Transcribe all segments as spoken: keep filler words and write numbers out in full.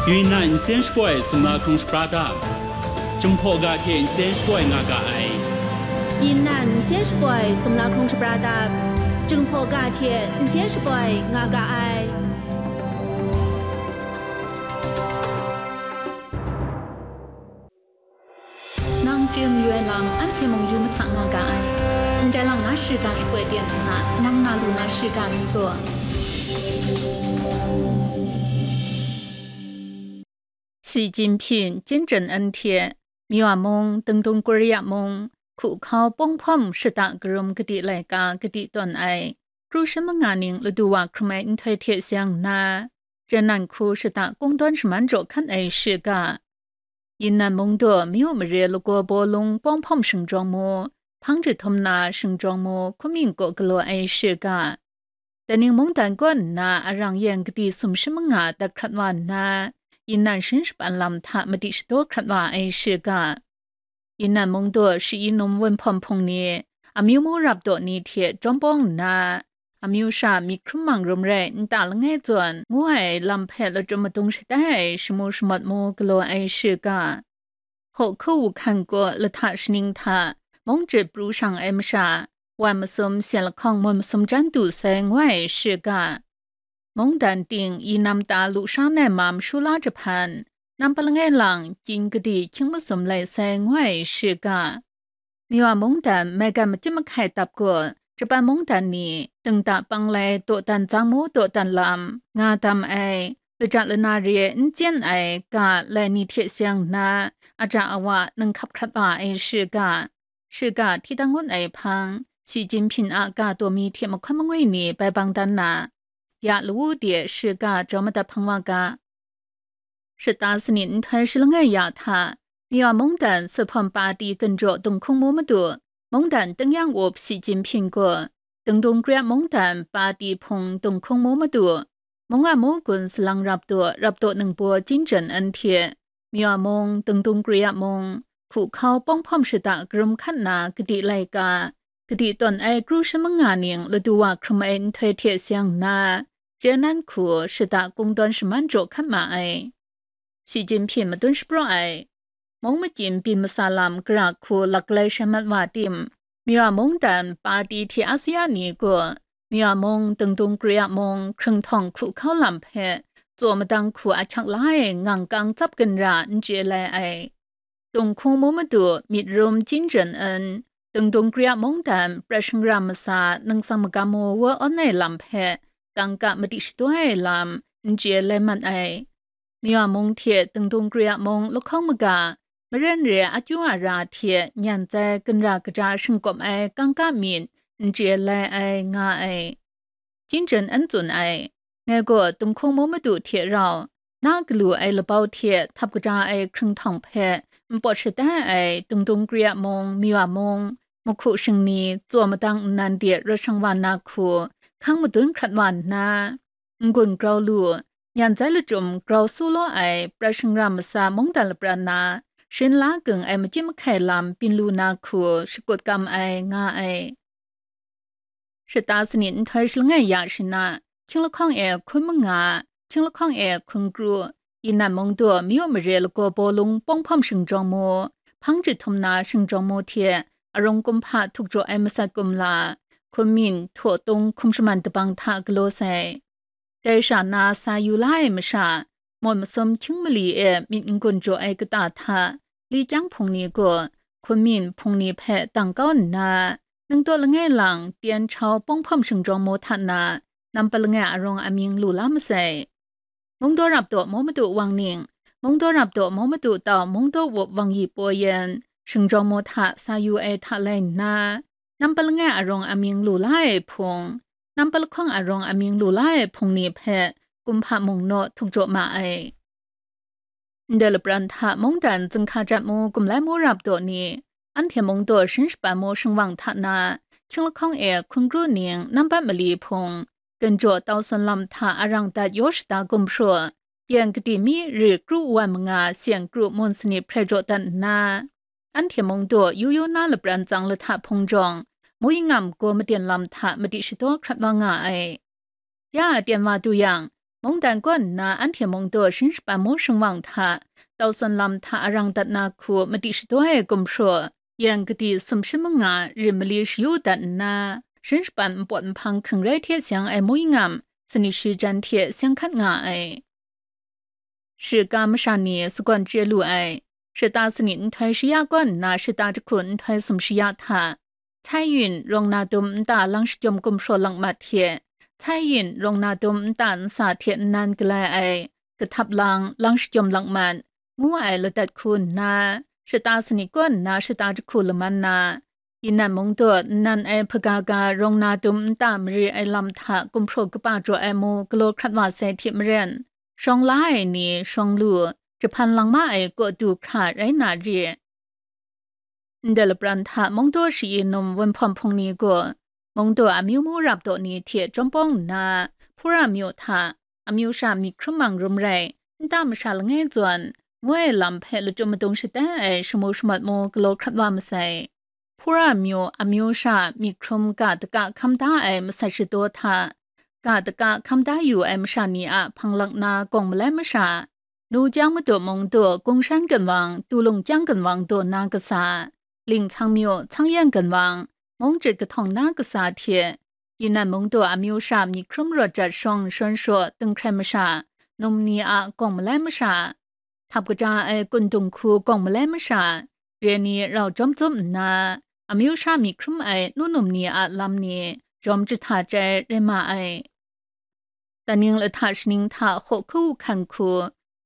Yunnan nsen shapoi sumla hkrung shapra dap, Jinghpaw ga hte nsen shapoi nga ga ai. Yunnan nsen shapoi sumla hkrung shapra dap, Jinghpaw ga hte nsen shapoi nga ga ai. Nang chye mayu ai lam anhte mung yu mahta nga ga ai. Ndai lang na shiga shapoi ten nna, nang na lu na shiga mi gaw. Xi Jinping, Chin Jen En hte, Myanmar mung, Dingdung Korea mung, hku hkau pawng hpawm shata karum kadi laika kadi tawn ai, kru shi manga ning ladu wa hkrum ai nhtoi hte seng nna, Jiannan hku shata kungdawn shaman jaw hkan ai shiga, Yunnan mungdaw mayu mare lagaw bawlung pawng hpawm shingjawng mu, hpang jahtum na shingjawng mu, hkuming kaw galaw ai shiga, Daning mungdan kaw nna arang yen kadi sum shi manga dat hkrat wa nna, Yunnan shin shapan lam hta madi shadaw hkrat wa ai shiga, Yunnan mungdaw shi-i num wunhpawm hpung ni, amyu mu rap daw ni hte jawm bawng nna, amyu sha myit hkrum mang rum rai nta langai zawn ngu ai lam hpe lachyum madung shatai ai shamu shamawt mu galaw ai shiga, Hawhku Wuhkan kaw lahta shaning hta mung jit pru shang ai masha, wan masum, syen lahkawng, mun masum jan du sai ngu ai shiga, mungdan ting i nam ta lu sha nai mam shu la jahpan, nam pa langai lang, chying kadi hkying masum lai sai ngu ai shiga, Myanmar mungdan maigan makyit mahkai dap gaw, Japan mungdan ni dingda panglai dawdan tsang mu dawdan lam nga dam ai, laja lana re n chyen ai ga lai ni hte seng nna, aja awa nang hkap hkrat wa ai shiga, shiga hti dang ngun ai hpang, Xi Jinping a ga daw mi hte mahkawn mangwi ni bai bang dan na, ya lawu de shiga jaw madat hpang wa ga. Shata sanit nhtoi shi langai ya hta, Myanmar mungdan Suphawm Pati ginjaw Dunghkung mu madu, mungdan tingnyang up Xi Jinping gaw, Dingdung Kri mungdan Pati hpung Dunghkung mu madu, mung a mu gun salang rap daw, rap daw ningbaw Chin Jen En hte, Myanmar mung, Dingdung Kri mung, hku hkau pawng hpawm shata karum hkan na kadi laika, kadi tawn ai kru shi manga ning ladu wa hkrum ai nhtoi hte seng nna, Jiannan hku shata kungdawn shaman jaw hkan ma ai. Xi Jinping madun shapraw ai, mung makyim byin masa lam gara hku laklai shai mat wa tim, Myanmar mungdan Pati hte asuya ni gaw, Myanmar mung, Dingdung Kri mung, hkrung htawng hku hkau lam hpe tsaw madang hku ahkyak la ai ngang kang tsap ginra n chye lai ai. Dunghkung mu madu myit rum Chin Jen En, Dingdung Kri mungdan prat shangra masa nang tsang magam mu wa awn ai lam hpe kangka madi shadaw ai lam n chye lai mat ai. Myanmar mung hte Dingdung Kri mung lahkawng maga, maren re akyu ara hte nyan tsai ginra kaja shingkawm ai kangka myit n chye lai ai nga ai. Chin Jen En tsun ai, ngai gaw Dunghkung mu madu hte rau, na galu ai labau hte htap kaja ai hkrung htawng hpe npawt shatai ai Dingdung Kri mung, Myanmar mung, mahku shingni, tsaw madang nnan de rawt shang wa na hku, hkang madun hkrat wa nna, n-gun grau lu, nyan tsai lachyum grau su law ai prat shangra masa mungdan lapran na, shin la gung ai makyit mahkai lam byin lu na hku shakut kam ai nga ai. Shata sanit nhtoi shi langai ya shana, hkying lahkawng e hkun manga, hkying lahkawng e hkun kru, Yunnan mungdaw mayu mare lagaw bawlung pawng hpawm shingjawng mu, hpang jahtum na shingjawng mu hte, arung kumhpa htuk jaw ai masat kumla, hkun myin, htaw tung hkum shaman dabang hta galaw sai. Dai sha na sa yu la ai masha, mawt masum hkying mali e myit n-gun jaw ai kata hta, li kyang hpung ni gaw, hkun myin hpung ni hpe dang kau nna, ningdaw langai lang pyen chau pawng hpawm shingjawng mu hta na, nam pa langai arung amying lu la masai. Mungdaw rap daw mu madu wang ning, mungdaw rap daw mu madu tau mungdaw wup wang yi paw yen, shingjawng mu hta sa yu ai hta lai nna, nam pa langai arung amying lu la ai hpung, nam pa lahkawng arung amying lu la ai hpung ni hpe kumhpa mung naw htuk jaw ma ai. Ndai lapran hta mungdan zinghka jat mu gumlai mu rap daw ni, anhte mungdaw shin shapan mu shingwang hta na, hkying lahkawng e hkun kru ning nambat mali hpung, ginjaw tau san lam hta arang dat yaw shada gumhpraw, yan kadi mi ri kru wan manga syen kru mun sanit hprai jaw dat nna, anhte mungdaw yu yu na lapran tsang lahta hpung jawng, mui ngam gaw maden lam hta madi shadaw hkrat wa nga ai. Ya a ten wa du yang, Mungdan kaw nna anhte mung daw sharin shapan mu shingwang hta, tau sawn lam hta arang dat na hku madi shadaw ai gumhpraw, yan kadi sumshi manga rim mali shayu dat nna, sharin shapan npawt nhpang hkring rai hte seng ai mui ngam, sanit shi jan hte seng hkat nga ai. Shiga masha ni sagawn chye lu ai. Shata sanit nhtoi shaya kaw nna shata jahku nhtoi sumshi ya hta, Cai Yun rawng na dum nta lang shajawm gumhpraw lang mat hte, Cai Yun rawng na dum nta nsa hte nnan galai ai, kahtap lang, lang shajawm lang mat, ngu ai ladat hku nna, shata sanit kaw nna shata jahku laman na, Yinan mung daw nnan ai hpaga ga rawng na dum nta mare ai lam hta gumhpraw kaba jaw ai mu galaw hkrat wa sai hte maren, shawng la ai ni shawng lu, jahpan lang ma ai kaw du hkra rai na re. Ndai lapran hta mung daw shayi num wunhpawm hpung ni gaw, mung daw amyu mu rap daw ni hte chyawm pawng nna, Hpura myu hta, amyu sha myit hkrum mang rum rai, nta masha langai zawn, ngu ai lam hpe lachyum madung shatai ai shamu shamat mu galaw hkrat wa masai. Hpura myu amyu sha myit hkrum ga daka hkam da ai masat shadaw hta, ga daka hkam da yu ai masha ni a hpang lak na gawng malai masha, nu jang madu mung du gungshan ginwang, tu lung kyang ginwang daw na kasa, ling htsang myu, htsang yan ginwang, mung chyit kahtawng na kasa hte, Yinan mung daw amyu sha myit hkrum rawt jat shawng shawn shaw dinghkrai masha, num ni a gawng malai masha, htap kaja ai kun dung hku gawng malai masha, re ni rau jawm tsup nna, amyu sha myit hkrum ai nu num ni a lam ni jawm jahta chyai rai ma ai. Daning lahta shaning hta hkaw hku hkan hku,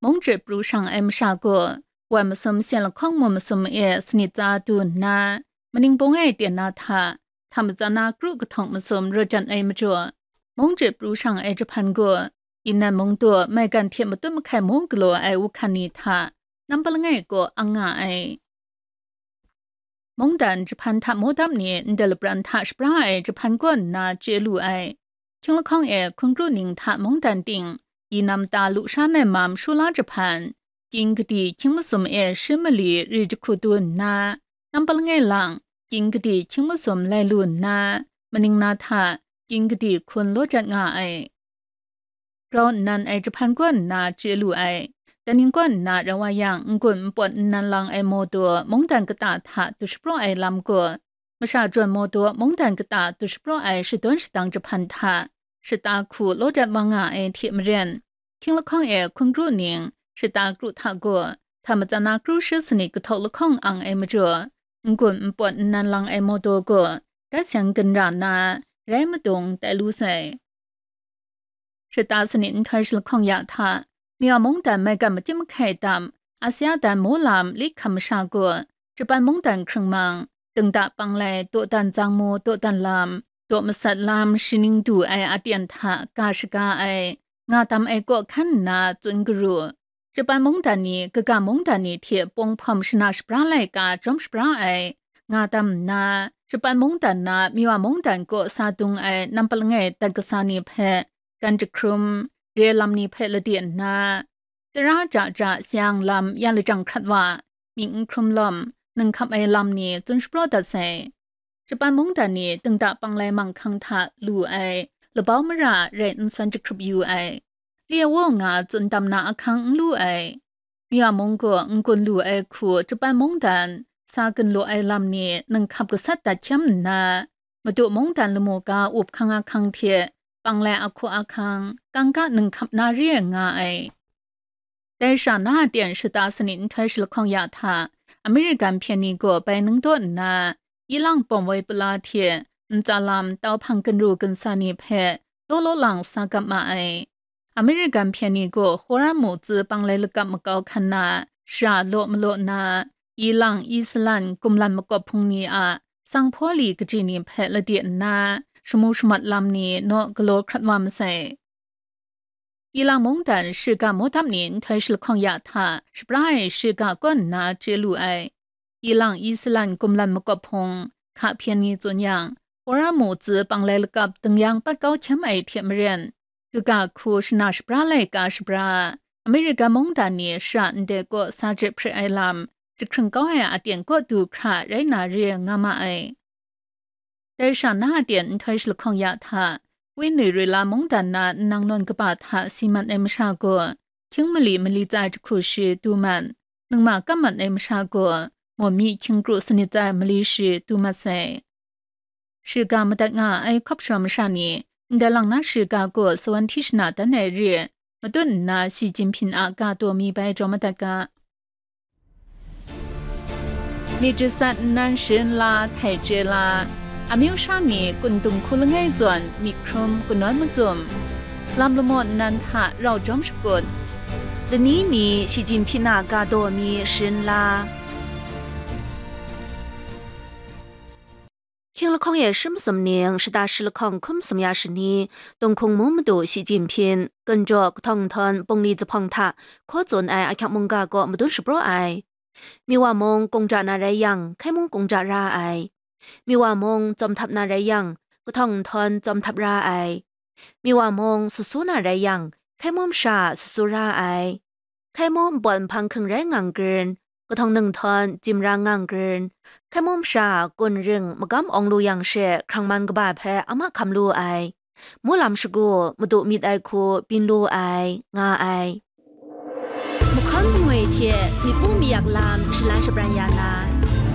mung chyit pru shang ai masha gaw, wan masum sen lahkawng mu masum e sanit tsa du nna, maning bung ai ten na hta, hta matsan na kru kahtawng masum rawt jan ai majaw, mung chyit pru shang ai jahpan gaw, Yinan mung daw maigan hte matut mahkai mu galaw ai wuhkan ni hta, nampa langai kaw ang nga ai. Mungdan jahpan hta modap ni ndai lapran hta shapra ai jahpan kaw nna chye lu ai. Hkying lahkawng e hkun kru ning hta mungdan ting, yi nam ta lu sha nai mam shula jahpan, kying kadi hkying masum e shi mali ri jahku du nna, nampa langai lang, kying kadi hkying masum lai lu nna, maning na hta, kying kadi hkun law jat nga ai. Grau nnan ai jahpan kaw nna chye lu ai. Daning kaw nna rau wa yang, n-gun npawt nnan lang ai mawdaw mungdan kata hta du shapraw ai lam gaw, masha jawn mawdaw mungdan kata du shapraw ai shadawn shadang jahpan hta, shata hku law dat wa nga ai hte maren, hkying lahkawng e hkun kru ning, shata kru hta gaw, hta matsan na kru shi sanit kahtawk lahkawng ang ai majaw, n-gun npawt nnan lang ai mawdaw gaw, gat seng ginra na, rai madung tai lu sai. Shata sanit nhtoi shalahkawng ya hta, Myaw mungdan maigan makyit mahkai tam, Asia dan mu lam lit hkam masha gaw, Japan mungdan hkrung mang, dingda panglai, dawdan zang mu, dawdan lam, daw masat lam, shaning du ai aten hta ga shaga ai, nga tam ai kaw hkan nna tsun garu. Japan mungdan ni, kaga mungdan ni hte pawng hpawm shana shapra laika jawm shapra ai, nga tam nna, Japan mungdan na Myaw mungdan kaw sa dung ai nampa langai dat kasa ni hpe, gan jahkrum, re lam ni hpe lade nna, tara ja ja sayang lam ya lajang hkrat wa, mying n hkrum lawm, ninghkap ai lam ni tsun shapraw dat sai. Japan mungdan ni dingda panglai manghkang hta lu ai, labau mara rai n san jahkrup yu ai, lye wa nga tsun tam na ahkang n lu ai, Myaw mung gaw n-gun lu ai hku Japan mungdan sa gun lu ai lam ni ninghkap gasat dat hkyam nna, Madu mungdan lamu ga up hkang ahkang hte panglai ahku ahkang, kangka ninghkap na re ai nga ai. Dai sha na aten shata sanit nhtoi shalahkawng ya hta, American hpyen ni gaw bai nang daw nna, ilang pawm woi pala hte ntsa lam tau hpang ginru ginsa ni hpe law law lang sa gap ma ai. American hpyen ni gaw Hora mu tsi panglai lakap makau hkan na, shara law malaw na, ilang, Iceland, kumlan makawp hpung ni a sanghpaw li kaji ni hpe lade nna, shamu shamat lam ni naw galaw hkrat wa masai. Ilang mungdan shiga mawdap ni nhtoi shalahkawng ya hta, shapra ai shiga kaw nna chye lu ai. Ilang Iceland kumlan makawp hpung, hka hpyen ni tsun yang, Hora mu tsi panglai lakap dingyang pat kau hkyam ai hte maren, kaga hku shana shapra laika shapra, America mungdan ni shara ndai kaw sa je hpre ai lam, jahkring kau ai aten kaw du hkra rai na re nga ma ai. Dai sha na aten nhtoi shalahkawng ya hta, Wenyi Rila mungdan na nang nawn kaba hta si mat ai masha gaw, hkying mali mali tsai jahku shi du mat, ningma kam mat ai masha gaw, mawmi hkying kru sanit tsai mali shi du mat sai. Shiga madat nga ai hkawp shawm masha ni, ndai lang na shiga gaw sawan hti shana dan ai re, matut nna Shi Jinping a ga taw mi bai jaw madat ga. Myit jasat nnan sharin la, htai chye la, amyu sha ni kun dung hku langai zawn myit hkrum kanawn macum, lam lamaw nnan hta rau jawm shakut, lani mi Shi Jinping a ga taw mi sharin la. Hkying lahkawng e shi masum ning, shata shi lahkawng hkum sum ya shani, Tunghkung mung madu Shi Jinping, Gunjaw kahtawng nhtawm bungli zuphpawng hta hkaw tsun ai ahkyak mungga kaw madun shapraw ai. Miwa mung kungja na rai yang, hkai mung kungja ra ai. Miwa mung tsawm htap na rai yang, kahtawng nhtawm tsawm htap ra ai. Miwa mung susu na rai yang, hkai mung masha susu ra ai. Hkai mung npawt nhpang hking rai ngang grin, kahtawng nhtawm jim ra ngang grin, hkai mung masha kun ring magam awng lu yang she hkrang man kaba hpe a mahkam lu ai, mung lam shagu madu myit ai hku byin lu ai, nga ai. Mahkawn mangwi hte myit pu mayak lam shalan shabran ya na,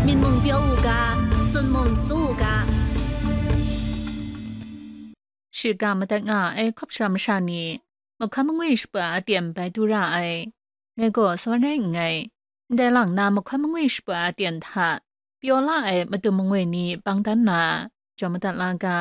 myit mung pyaw u ga, tsun mung tsu u ga. Shiga madat nga ai hkawp shawm masha ni, mahkawn mangwi shapa aten bai du ra ai. Ngai gaw sawan rai nngai, ndai lang na mahkawn mangwi shapa aten hta pyaw la ai matu mangwi ni bang dan na, jaw madat la ga.